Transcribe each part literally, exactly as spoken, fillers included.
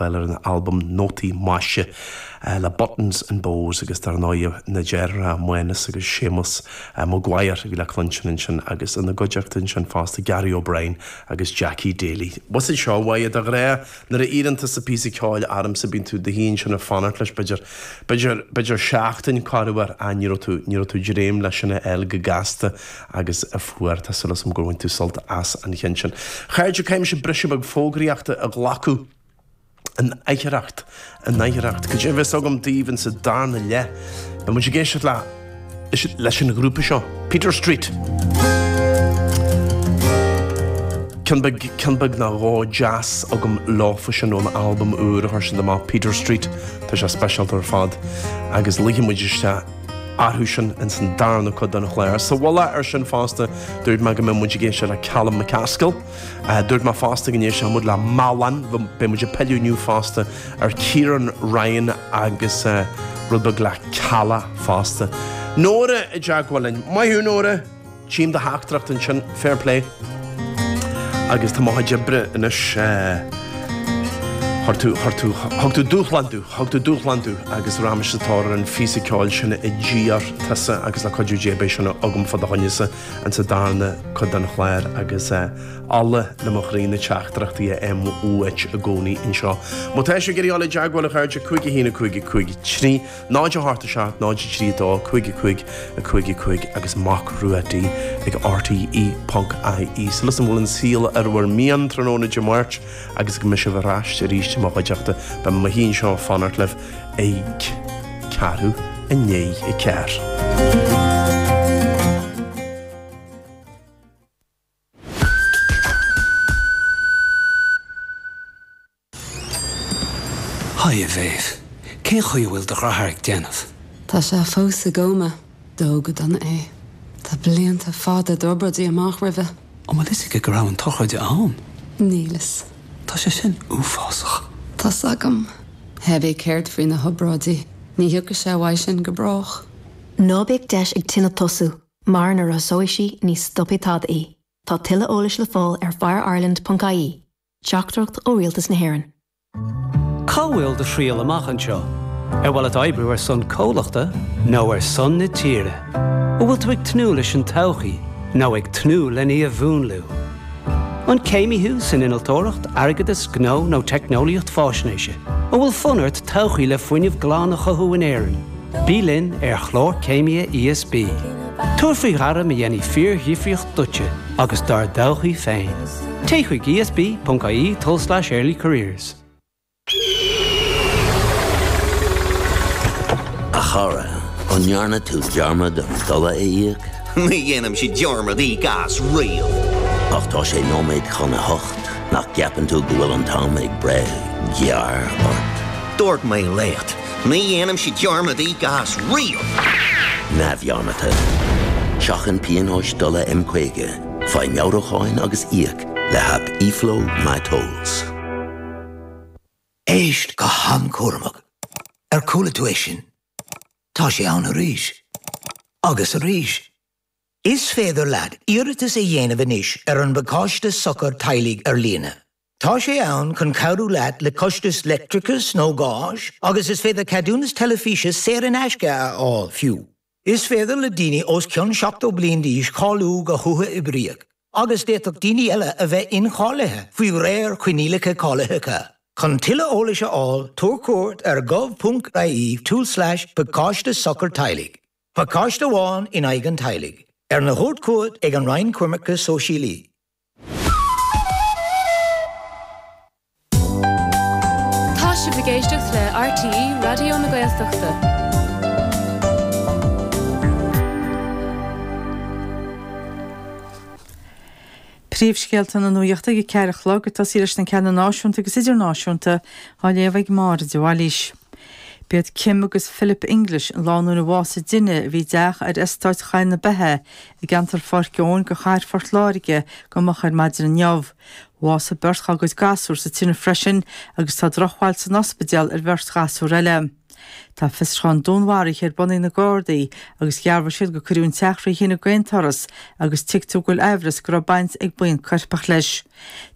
fáil ar an albam Nótaí Maise le Buttons and Bows agus dar ndóigh na deartháireacha Mánas agus Séamus Maguire a bhí le cluinstin ansin agus ina gcuideachta ansin fosta Gary O'Brien agus Jackie Daly. Was seo bhaid a ghrá nuair a iarrann tusa píosa ceoil ormsa bíonn tú i do shuí ansin ag fanacht leis b'fhéidir b'fhéidir b'fhéidir seachtain corruair a ní tú ní tú dréim leis sin a fháil go gasta agus a fuair tá súil agam gur bhain tú sult as an cheann sin. Chairde caithfidh mise briseadh beag fógraíochta a ghlacadh an oidhreacht an oidhreacht. Go dtí bheas agam daoibh sa darna leath. Beidh muid ag éisteacht le leis an ghrúpa seo, Peter Street. Ceann beag ceann beag nó dhó deas agam leofa sin ón albam úr a chuir siad amach Peter Street Tá sé speisialta ar fad agus ligfidh muid isteach orthu sin in san darna cuid den chlár. Sa mhullach ar sin fosta dúirt mé go mbeidh muid ag éisteacht le Callum McCaskill. Uh, dúirt mé fosta go n-éistfidh muid le Malan, beidh muid ag pilleadh inniu fosta ar Kieran Ryan agus uh, rud beag le Cala fosta. Nóra i dteagmháil linn. Maith thú Nóra, Tchím do theachtaireacht ansin fair play. Agus tá mo chuid oibre anois Thug tú thug tú dúshlán domh, thug tú dúshlán domh agus raghaimse sa tóir ar an phíosa ceoil sin a d'iarr tusa agus le cuidiú Dé beidh sin agam fá do choinnese an sa darna cuid den chlár agus ola le mo chroí na teachtaireachtaí a fhaighim uait i gcónaí anseo. Má tá sibh ag iarraidh dul i dteagmháil a chairde cúig a haon a cúig a cúig trí, náid a hocht a seacht náid a trí dó cúig a cúig a cúig a cúig agus Mac Rua D ag RTE ponc IE. Súil agam go bhfuil an saol ar bhur mian tráthnóna Dé Máirt agus go mbeidh sibh ar ais arís i mo chuideachta beidh mé anseo ag fanacht libh ag ceathrú i ndiaidh a ceathair. Haigh a Mhéabh, Cén chaoi a bhfuil do dheartháir ag déanamh? Tá sé fós i gcóma, dódh go dona é. Tá blianta fada d'obráidí amach roimhe. An bhfuil fhios aige go raibh an tsochraid ann? Níl fhios. Tá sé sin uafásach. Tá's agam. Cibé céard faoi na hobráidí, ní thiocfaidh sé uaidh sin go brách. Ná bíodh deis ag tine tosú, mar nuair a thosóidh sí ní stopfaidh tada í. Tá tuilleadh eolais le fáil ar fireireland.ie. Teachtaireacht ó Rialtas na hÉireann. Cá bhfuil do thriall amach anseo? Ar mhaith leat oibriú ar son comhlachta nó ar son na tíre? An bhfuil tú ag tnúth leis an todhchaí nó ag tnúth lena í a mhúnlú? An céimí thú san innealtóireacht, airgeadas, gnó nó teicneolaíocht faisnéise? An bhfuil fonn ort todhchaí le fuinneamh glan a chothú in Éirinn? Bí linn ar chlár céimithe ESB. Tabhair faoi ghairm a dhéanfaidh fíordhifríocht duitse agus dár dtodhchaí féin. Téigh chuig ESB.ie tulslais early careers. A chara, an ndearna tú dearmad an dola a íoc? Ní dhéanaimse dearmad íoc as riamh. Ach tá sé nóiméad chun a hocht nach gceapann tú go bhfuil an t-am ag breith gearr ort. Dúirt mé leat, ní dhéanaimse dearmad íoc as riamh. Neamhdhearmadta. Seachain pionóis dola M caoga, faigh meabhrúcháin agus íoc le haip eFlow MyTolls. Éist go han-chúramach. Ar chuala tú é sin? Tá sé ann arís. Agus arís. Is féidir leat iarratas a dhéanamh anois ar an bpacáiste sochar teaghlaigh ar líne. Tá sé ann chun cabhrú leat le costas leictreachais nó gáis, agus is féidir ceadúnas teilifíse saor in aisce a fháil fiú. Is féidir le daoine os cionn seachtó bliain d'aois cáiliú go huathoibríoch, agus d'fhéadfadh daoine eile a bheith incháilithe faoi réir coinníollacha cáilitheacha. Chun tuilleadh eolais a fháil tabhair cuairt ar gov.ie tulslais pacáiste sochar teaghlaigh. Pacáiste amháin in aghaidh an teaghlaigh. Arna thabhairt chugat ag an Roinn Coimirce Sóisialaí. Tá sibh ag éisteacht le RTÉ Raidió na Gaeltachta. Príomhscéalta na nuachta ag a ceathair a chlog ag tosaí leis na ceanna náisiúnta agus idirnáisiúnta á léamh ag Máire de Bhailís. B'iad Kim agus Philip English an lánúin a bhásaigh i dtine a bhí i dteach ar eastát Chathair na Beithe i gceantar Pháirc Eoin go Chathair Phort Láirge go moch ar maidin inniu. Bhásaigh beirt dá gcuid gasúr sa tine freisin agus tá drochbhail san ospidéal ar bheirt ghasúr eile. Tá fiosrúchán dúnmharaithe ar bun ag na Gardaí agus dhearbhaigh siad gur cuireadh an teach faoi thine d'aon turas agus tuigtear go bhfuil amhras go raibh baint ag buíon coirpeach leis.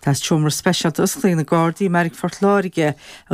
Tá seomra speisialta oscailte ag na Gardaí i mBeairic Phort Láirge